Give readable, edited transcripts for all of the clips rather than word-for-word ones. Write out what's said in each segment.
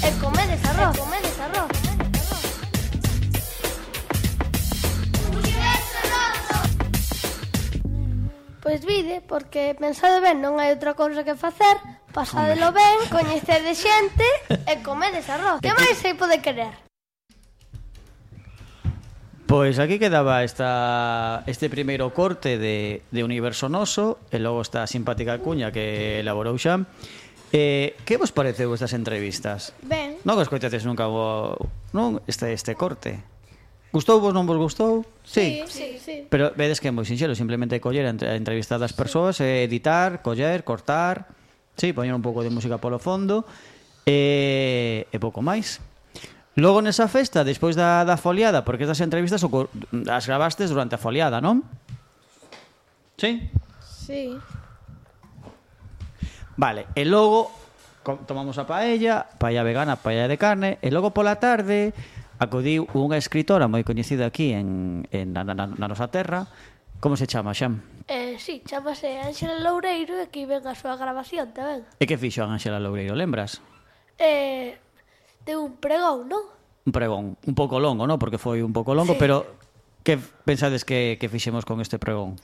e comedes arroz. Pois vide, porque pensade ben, non hai outra cousa que facer, pasadelo ben, coñecede xente e comedes arroz. Que máis se pode querer? Pois aquí quedaba este primeiro corte de Universo Noso e logo esta simpática cuña que elaborou Xan. Que vos pareceu estas entrevistas? Ben. Non que escoitedes nunca este corte? Gustouvos, non vos gustou? Sí. Pero vedes que é moi sinxelo, simplemente coller a entrevista das persoas, editar, coller, cortar, sí, poñer un pouco de música polo fondo e pouco máis. Logo nesa festa, despois da foliada, porque estas entrevistas as grabastes durante a foliada, non? Sí? Sí. Vale, e logo tomamos a paella vegana, paella de carne, e logo pola tarde acudiu unha escritora moi coñecida aquí na nosa terra. Como se chama, Xan? Sí, chamase Ánxela Loureiro e aquí ven a súa grabación tamén. E que fixo a Ánxela Loureiro, lembras? Deu un pregón, non? Un pregón, un pouco longo, non? Porque foi un pouco longo, sí. Pero que pensades que fixemos con este pregón?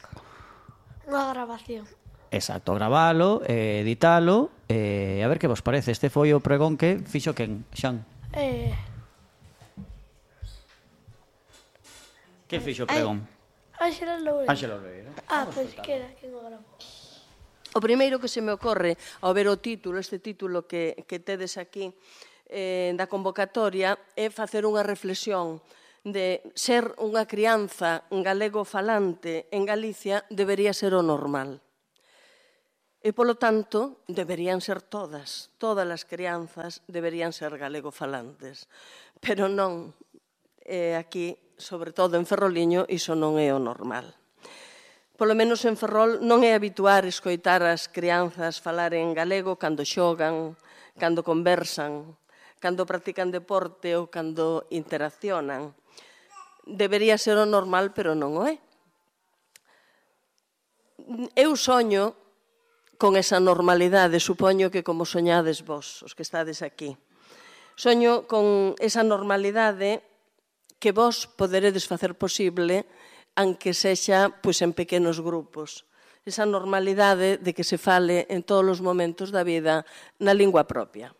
Unha grabación. Exacto, gravalo, editalo, a ver que vos parece. Este foi o pregón que fixo quen, Xan? Que fixo o pregón? Ánxela Loureiro. Ánxela Loureiro. Pois que era quen o gravou. O primeiro que se me ocorre ao ver o título, este título que tedes aquí da convocatoria, é facer unha reflexión de ser unha crianza galego falante en Galicia debería ser o normal. E, polo tanto, deberían ser todas as crianzas deberían ser galego falantes. Pero non, aquí, sobre todo en Ferroliño, iso non é o normal. Polo menos en Ferrol non é habituar escoitar as crianzas falar en galego cando xogan, cando conversan, cando practican deporte ou cando interaccionan. Debería ser o normal, pero non o é. Eu soño con esa normalidade, supoño que como soñades vos, os que estades aquí. Soño con esa normalidade que vos poderedes facer posible, aunque sexa en pequenos grupos. Esa normalidade de que se fale en todos os momentos da vida na lingua propia.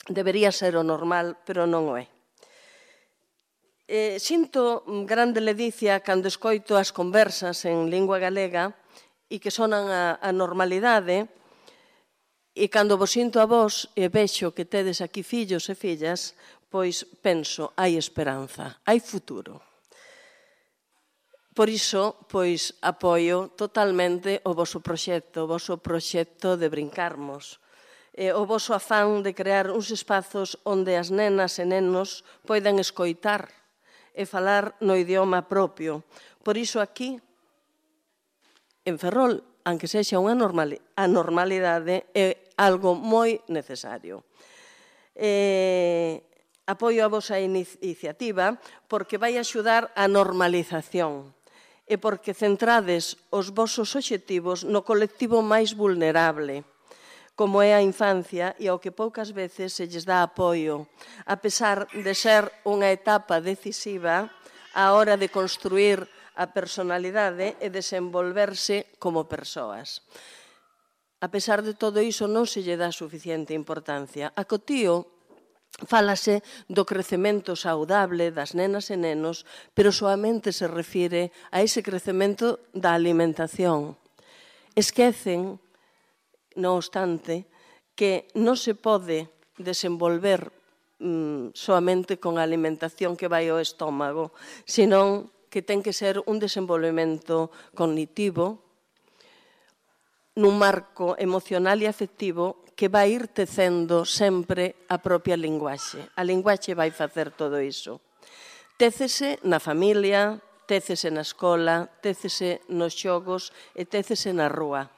Debería ser o normal, pero non o é. Sinto grande ledicia cando escoito as conversas en lingua galega e que sonan a normalidade, e cando vos sinto a vos e vexo que tedes aquí fillos e fillas, pois penso, hai esperanza, hai futuro. Por iso, pois, apoio totalmente o voso proxecto de brincarmos, o voso afán de crear uns espazos onde as nenas e nenos poidan escoitar e falar no idioma propio. Por iso aquí, en Ferrol, aunque sexa unha normalidade, é algo moi necesario. Apoio a vosa iniciativa porque vai axudar a normalización e porque centrades os vosos obxectivos no colectivo máis vulnerable, como é a infancia e ao que poucas veces se lles dá apoio, a pesar de ser unha etapa decisiva á hora de construir a personalidade e desenvolverse como persoas. A pesar de todo iso, non se lle dá suficiente importancia. A Cotío fálase do crecemento saudable das nenas e nenos, pero soamente se refire a ese crecemento da alimentación. Esquecen, non obstante, que non se pode desenvolver soamente con a alimentación que vai ao estómago, senón que ten que ser un desenvolvemento cognitivo nun marco emocional e afectivo que vai ir tecendo sempre a propia linguaxe. A linguaxe vai facer todo iso. Técese na familia, técese na escola, técese nos xogos e técese na rúa.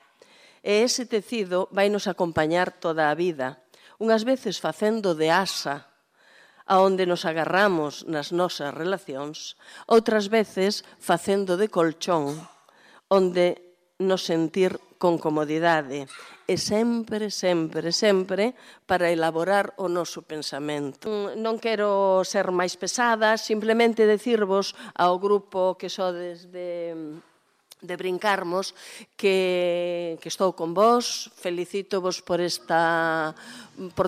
E ese tecido vai nos acompañar toda a vida, unhas veces facendo de asa, aonde nos agarramos nas nosas relacións, outras veces facendo de colchón, onde nos sentir con comodidade e sempre, sempre, sempre para elaborar o noso pensamento. Non quero ser máis pesada, simplemente decirvos ao grupo que sodes de Brincarmos que estou con vos, felicítovos por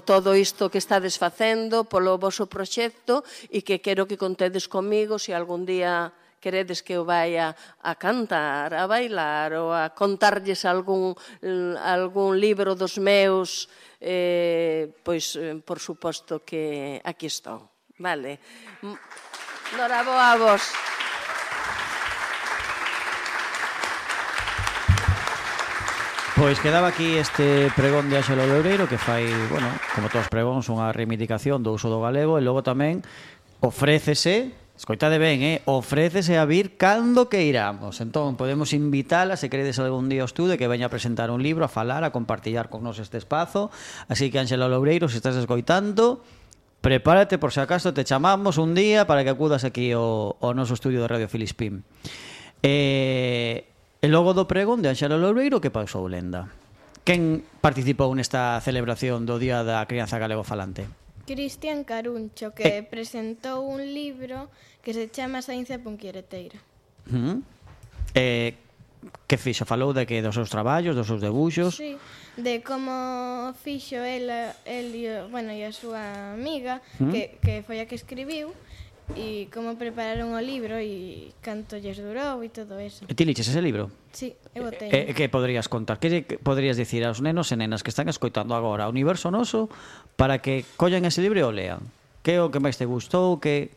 todo isto que estades facendo, polo voso proxecto e que quero que contedes comigo se algún día queredes que eu vaya a cantar, a bailar ou a contarlles algún libro dos meus, pois, por suposto que aquí estou. Vale. Noraboa a vos. Pois quedaba aquí este pregón de Ángelo Loureiro que fai, bueno, como todos os pregóns, unha reivindicación do uso do galego e logo tamén ofrécese, escoitade ben, ofrécese a vir cando que iramos. Entón, podemos invitala, se queredes algún día o estude, que veña a presentar un libro, a falar, a compartillar con nos este espazo. Así que, Ángelo Loureiro, se estás escoitando, prepárate por se acaso te chamamos un día para que acudas aquí ao noso estudio de Radio Filispín. E logo do pregón de Ángelo Loureiro, que pasou, Lenda? Quen participou nesta celebración do Día da Crianza Galego Falante? Cristian Caruncho, que presentou un libro que se chama Saínza Punquereteira. Que fixo? Falou de que dos seus traballos, dos seus debuxos? Sí, de como fixo el e a súa amiga, que foi a que escribiu, e como prepararon o libro e canto lles durou e todo eso. E ti liches ese libro? Sí, eu o teño. Que poderías contar? Que poderías dicir aos nenos e nenas que están escoitando agora o Universo Noso para que collan ese libro e o lean? Que é o que máis te gustou? Que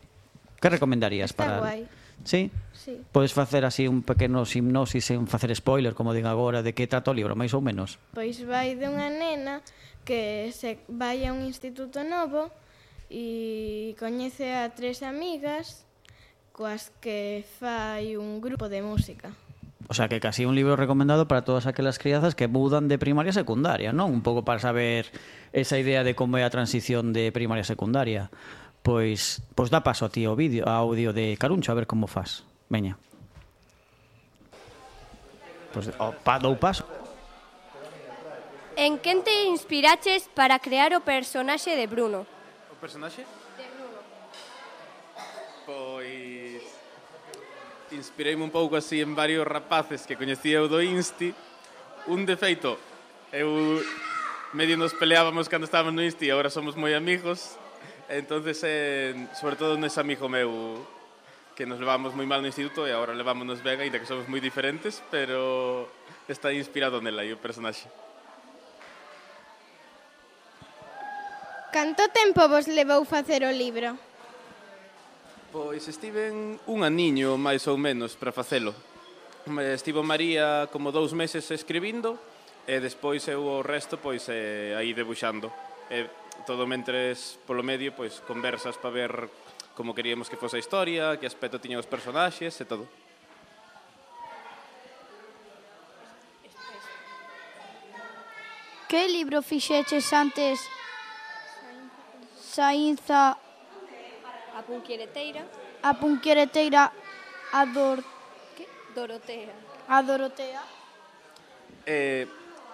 recomendarías? Está guai. Sí? Sí. Podes facer así un pequeno hipnosis sen facer spoiler, como digo agora, de que trata o libro, máis ou menos? Pois vai de unha nena que se vai a un instituto novo e coñece a 3 amigas coas que fai un grupo de música. O sea, que casi un libro recomendado para todas aquelas crianzas que mudan de primaria a secundaria, non? Un pouco para saber esa idea de como é a transición de primaria a secundaria. Pois dá paso a ti ao audio de Caruncho, a ver como faz. Veña. Pois dou paso. En quen te inspiraches para crear o personaxe de Bruno? O personaxe? De Bruno. Pois inspireime un pouco así en varios rapaces que coñecía eu do Insti. Un defeito, eu medio nos peleábamos cando estábamos no Insti e agora somos moi amigos. Entonces, sobre todo nese amigo meu que nos levamos moi mal no instituto e agora levámonos ben, ainda que somos moi diferentes, pero está inspirado nela aí o personaxe. Canto tempo vos levou facer o libro? Pois estiven un aniño, máis ou menos, para facelo. Estivo María como 2 meses escribindo e despois eu o resto pois aí debuxando. Todo mentres polo medio pois conversas para ver como queríamos que fose a historia, que aspecto tiñan os personaxes e todo. Que libro fixeches antes? Saínza A Punquereteira. A Punquereteira Dorotea. A Dorotea.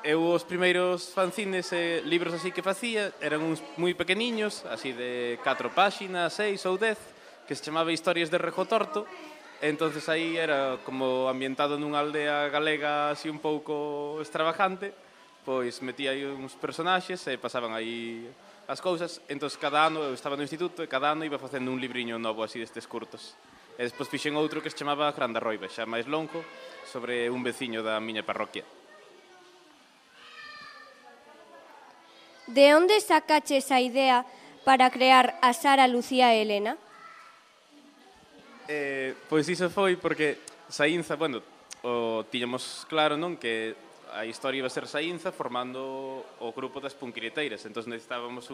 Eu os primeiros fanzines e libros así que facía eran uns moi pequeniños, así de 4 páxinas, 6 ou 10, que se chamaba Historias de Rejo Torto. Entonces aí era como ambientado nunha aldea galega así un pouco extravagante, pois metía aí uns personaxes e pasaban aí as cousas. Entón, cada ano eu estaba no instituto e cada ano iba facendo un libriño novo así destes curtos. E despois fixen outro que se chamaba Grande Arroiba, xa máis longo, sobre un veciño da miña parroquia. De onde sacaches a idea para crear a Sara, Lucía e Elena? Pois iso foi porque Saínza, tiñamos claro, non, que a historia iba a ser Saínza formando o grupo das Punquireteiras. Entón necesitábamos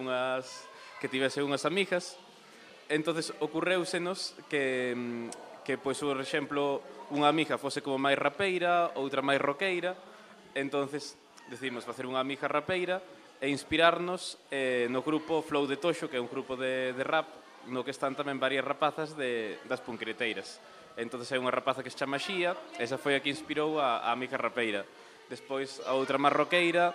que tivese unhas amigas. Entonces ocurréusenos que pois, por exemplo, unha amiga fose como máis rapeira, outra máis roqueira. Entonces decidimos facer unha amiga rapeira e inspirarnos no grupo Flow de Toxo, que é un grupo de rap no que están tamén varias rapazas das Punquireteiras. Entón é unha rapaza que se chama Xía, esa foi a que inspirou a Mica Rapeira. Despois, a outra marroqueira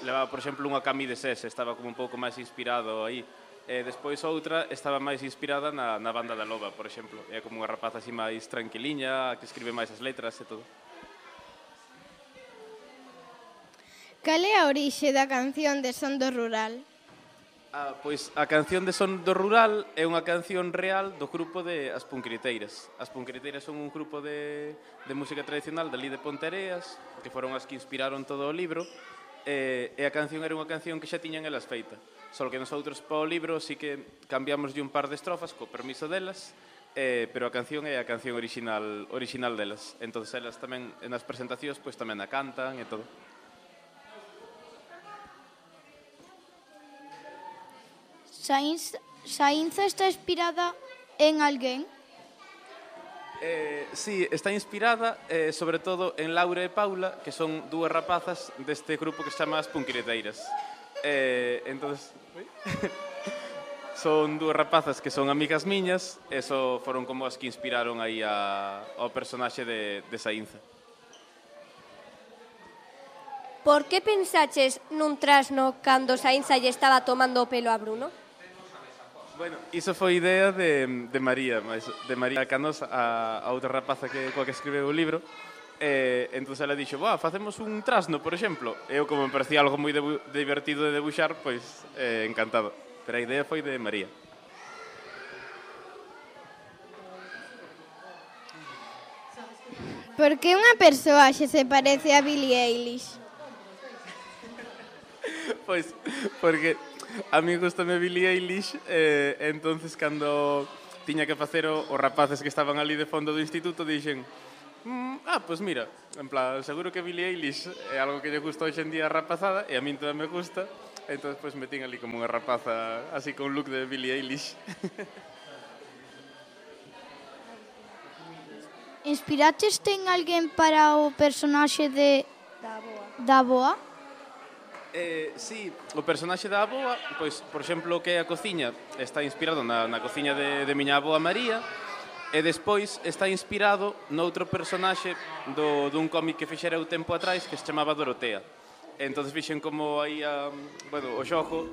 levaba, por exemplo, unha cami de sese, estaba como un pouco máis inspirado aí. Despois outra estaba máis inspirada na banda da Loba, por exemplo. É como unha rapaza así máis tranquiliña, que escribe máis as letras e todo. Cal é a orixe da canción de Son do Rural? Pois a canción de Son do Rural é unha canción real do grupo de As Punqueriteiras. As Punqueriteiras son un grupo de música tradicional dali de Ponteareas, que foron as que inspiraron todo o libro, e a canción era unha canción que xa tiñan elas feita. Só que nosotros para o libro sí que cambiamoslle un par de estrofas co permiso delas, pero a canción é a canción original delas. Entón elas tamén nas presentacións pois tamén a cantan e todo. Saínza está inspirada en alguén? Sí, está inspirada sobre todo en Laura e Paula, que son dúas rapazas deste grupo que se chama As Punqueriteiras. Entonces, son dúas rapazas que son amigas miñas, e foron como as que inspiraron aí ao personaxe de Saínza. Por que pensaches nun trasno cando Saínza lle estaba tomando o pelo a Bruno? Bueno, iso foi idea de María, de María Canosa, a outra rapaza coa que escribeu o libro. Entón ela dixo, facemos un trasno, por exemplo. Eu, como me parecía algo moi divertido de debuxar, pois encantado. Pero a idea foi de María. Por que unha persoaxe se parece a Billie Eilish? Pois, porque a mí gustame Billie Eilish, entonces cando tiña que facer os rapaces que estaban ali de fondo do instituto dixen, pois mira, en plan, seguro que Billie Eilish é algo que lle gusta hoxe en día a rapazada e a min tamén me gusta, entón pois metín ali como unha rapaza así con look de Billie Eilish. Inspiráteste en alguén para o personaxe da Boa? Sí, o personaxe da avoa, pois, por exemplo, que é a cociña, está inspirado na cociña de miña avoa María, e despois está inspirado noutro personaxe dun cómic que fixera o tempo atrás que se chamaba Dorotea. Entón fixen como aí o xogo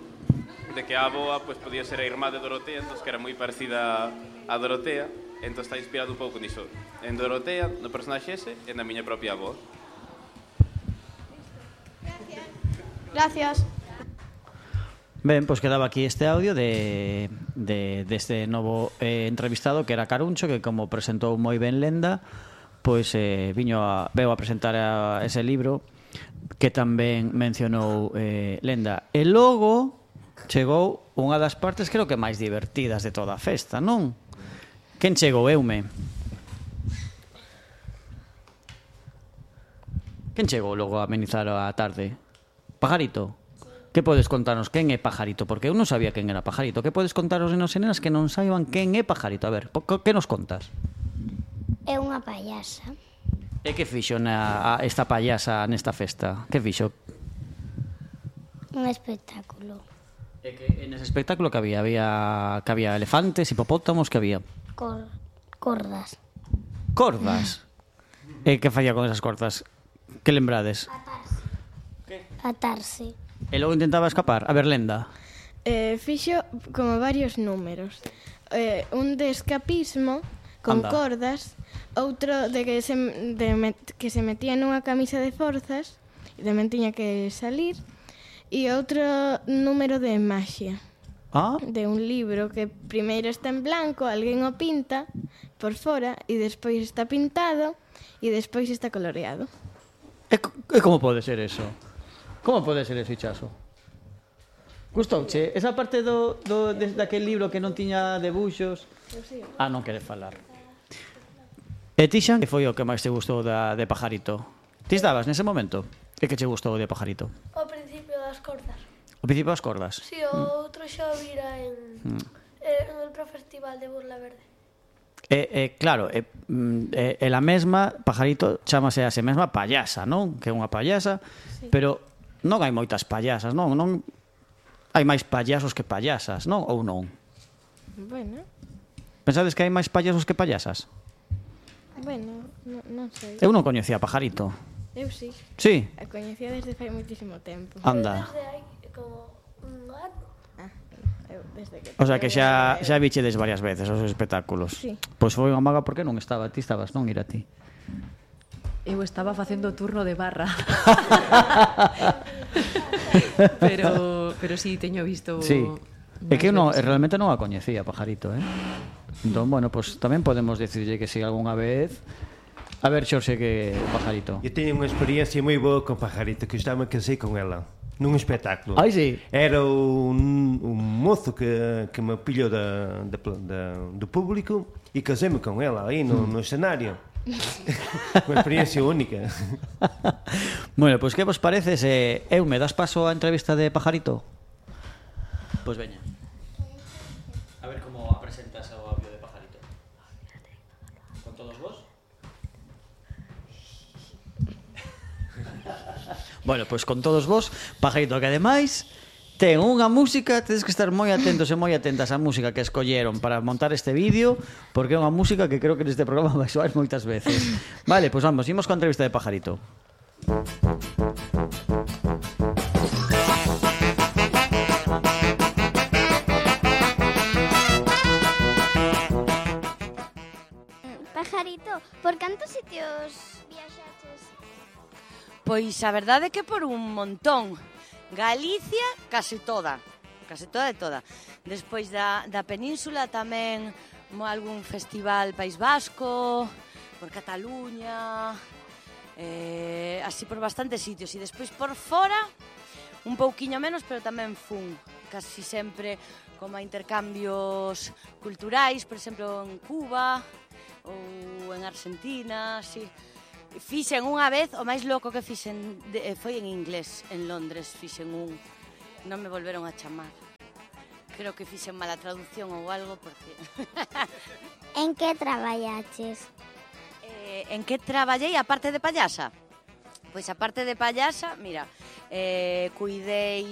de que a avoa pois, podía ser a irmá de Dorotea, entón que era moi parecida a Dorotea, entón está inspirado un pouco niso, en Dorotea, no personaxe ese, e na miña propia avoa. Gracias. Ben, pois quedaba aquí este audio deste novo entrevistado que era Caruncho, que como presentou moi ben Lenda, pois veu a presentar ese libro que tamén mencionou Lenda. E logo chegou unha das partes creo que máis divertidas de toda a festa, non? Quen chegou, Eume? Quen chegou logo a amenizar a tarde? Pajarito? Que podes contarnos quen é Pajarito? Porque eu non sabía quen era Pajarito. Que podes contaros nenos e nenas que non saiban quen é Pajarito? A ver, que nos contas? É unha payasa. E que fixo esta payasa nesta festa? Que fixo? Un espectáculo. E que en ese espectáculo que había? Que había elefantes, hipopótamos, que había? Cordas. Cordas? E que falla con esas cordas? Que lembrades? Atarse. E logo intentaba escapar? A ver, Lenda. Fixo como varios números. Un de escapismo con cordas, outro de que se metía nunha camisa de forzas e tamén tiña que salir, e outro número de maxia. De un libro que primeiro está en blanco, alguén o pinta por fora e despois está pintado e despois está coloreado. E como pode ser eso? Como pode ser eso, Ichaso? Gustouche? Esa parte daquel libro que non tiña debuxos? Non quere falar. E ti, Xan, que foi o que máis te gustou de Pajarito? Ti estabas nese momento? E que che gustou de Pajarito? O principio das cordas. O principio das cordas? Si, o outro xa o vira en outro festival de Burla Verde. Claro, ela mesma, Pajarito, chámase a se mesma payasa, non? Que é unha payasa, pero non hai moitas payasas, non? Hai máis payasos que payasas, non? Ou non? Bueno, Pensades que hai máis payasos que payasas? Bueno, non sei. Eu non coñecía a Pajarito. Eu sí. Sí? A coñecía desde fai moitísimo tempo. Anda. Desde hai como un ano. Eu desde que... O sea que xa vichedes varias veces os espectáculos. Sí. Pois foi unha maga porque non estaba. Ti estabas, non, ir a ti? Eu estaba facendo turno de barra. pero sí, teño visto... Sí. É que eu non, realmente non a coñecía, Pajarito, Entón, bueno, pues tamén podemos decirlle que si algunha vez... A ver, Xorxe, que Pajarito. Eu teño unha experiencia moi boa con Pajarito, que estaba me casei con ela nun espectáculo. Ai, sí. Era un mozo que me pillou do público e casei-me con ela aí no escenario. Unha experiencia única. Bueno, pois que vos parece se eu me das paso á entrevista de Pajarito? Pois veña. A ver como presentas o audio de Pajarito. Con todos vos? Bueno, pois con todos vos, Pajarito, que ademais ten unha música, tedes que estar moi atentos e moi atentas á música que escolleron para montar este vídeo, porque é unha música que creo que neste programa vai soar moitas veces. Vale, pois vamos, imos con a entrevista de Pajarito. Pajarito, por cantos sitios viaxaches? Pois a verdade é que por un montón. Galicia, case toda de toda. Despois da península tamén algún festival País Vasco, por Cataluña, así por bastantes sitios. E despois por fora, un pouquiño menos, pero tamén fun casi sempre como a intercambios culturais, por exemplo en Cuba ou en Argentina, así. Fixen unha vez, o máis loco que fixen foi en inglés, en Londres fixen un, non me volveron a chamar. Creo que fixen mala traducción ou algo porque... En que traballaches? En que traballei aparte de payasa? Pois aparte de payasa, mira, cuidei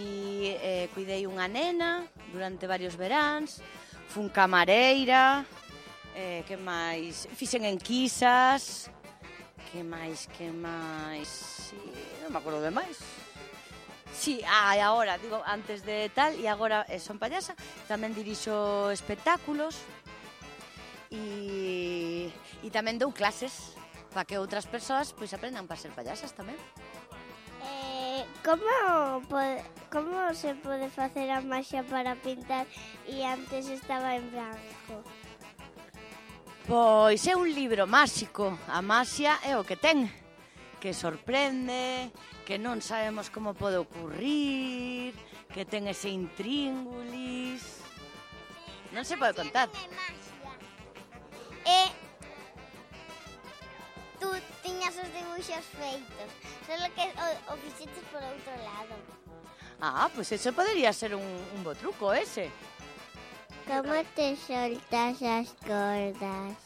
unha nena durante varios veráns, fun camareira, que máis? Fixen enquisas... Que máis? Sí, non me acordo de máis. Sí, agora, digo, antes de tal, e agora son payasa, tamén dirixo espectáculos e tamén dou clases para que outras persoas pois aprendan para ser payasas tamén. Como se pode facer a maxia para pintar e antes estaba en branco? Pois é un libro máxico. A maxia é o que ten, que sorprende, que non sabemos como pode ocurrir, que ten ese intríngulis. Non se pode contar. E tú tiñas os dibuixos feitos, só que o fixeches por outro lado. Pois eso podería ser un bo truco ese. Como te soltas as cordas?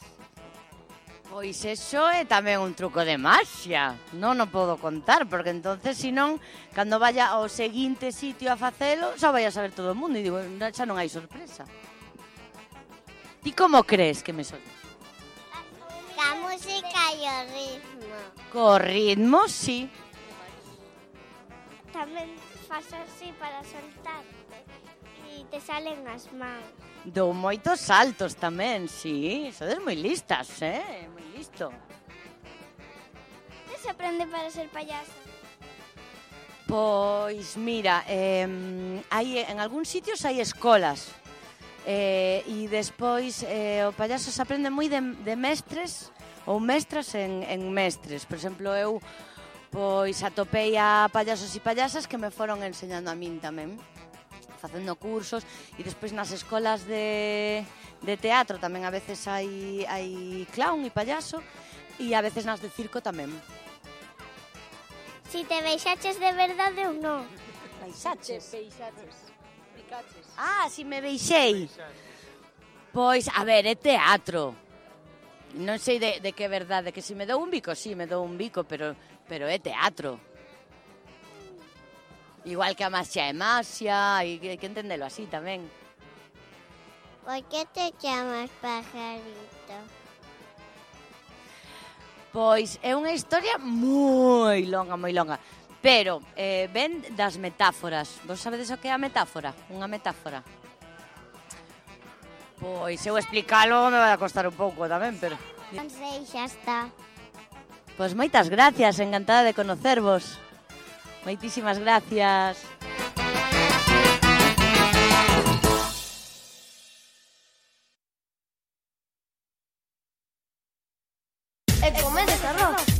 Pois eso é tamén un truco de maxia. Non o podo contar, porque entonces, senón, cando vaya ao seguinte sitio a facelo, xa vai a saber todo o mundo. E digo, xa non hai sorpresa. Ti como crees que me soltas? Ca música e o ritmo. Co ritmo, sí. Tamén faz así para soltarte e te salen as mans. Dou moitos saltos tamén, sí. Sodes moi listas, moi listo. Que se aprende para ser payasa? Pois, mira, hai, en algúns sitios hai escolas. E despois o payaso se aprende moi de mestres ou mestras en mestres. Por exemplo, eu pois atopei a payasos e payasas que me foron enseñando a min tamén, facendo cursos, e despois nas escolas de teatro tamén a veces hai clown e payaso, e a veces nas de circo tamén. Si te beixaches de verdade ou non? Beixaches? Si me beixei. Pois, a ver, é teatro. Non sei de que é verdade, que se me dou un bico, sí, me dou un bico, pero é teatro. Igual que a maxia é maxia, e que entendelo así tamén. Por que te chamas pajarito? Pois é unha historia moi longa, pero ven das metáforas. Vos sabedes o que é a metáfora? Unha metáfora. Pois eu explicalo me vai a costar un pouco tamén, pero... Non sei, xa está. Pois moitas gracias, encantada de conocervos. Moitísimas gracias. E comedes arroz.